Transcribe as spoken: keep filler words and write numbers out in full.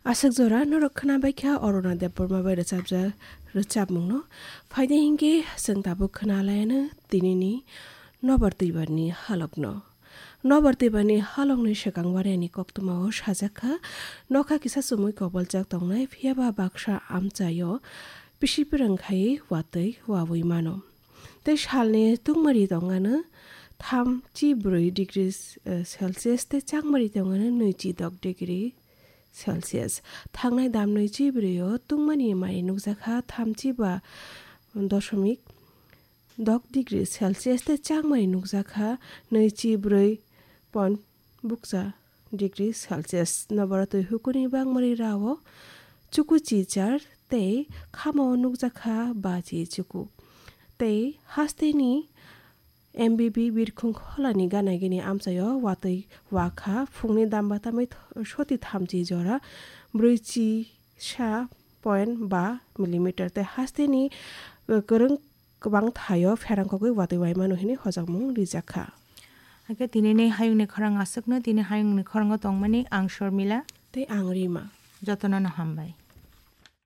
Aswk jora norok khwnabaikha Aruna Debbarma bai rwchapjak rwchapmungno. Phaidi hinkhe chwng tabuk khwnalaiano tinini nobar twibarni halokno. Nobar twibarni halokni swkang barani koktwmao sajakha, nokha kisa chumui koboljak tongnai, phiyaba baksa amchaio pisi pwrwng khai watwi wawi mano. Tei salni tungmari tongano thamchi bwrwi degree, eh, Celsius tei chakmari tongano nwichi dok degree Celsius. Thangnai damnwi chibrio tungmani mari nukjakha thamchi ba dosomik dok degree Celsius tei chakmari nukjakha nwichi bwrwi point bukcha degree Celsius. Nobara twi hukuni bangmari rao chuku chichar tei khamao nukjakha bachi chuku. Tei hasteni M B B birkhung kholani gana gini amchaio watwi wakha phungni damba tamwi th-, soti thamchi jora brwichi sa point ba millimeter tei hasteni, eh, kwrwng kwbang thaio pherang kogwi watwi waimano hwnwi hojakmung rijakha. Hakhe tinini hayungni khorang aswkno, tini hayungni khorango tongmani ang Shormila. Tei ang Rima. Jotono no hambai.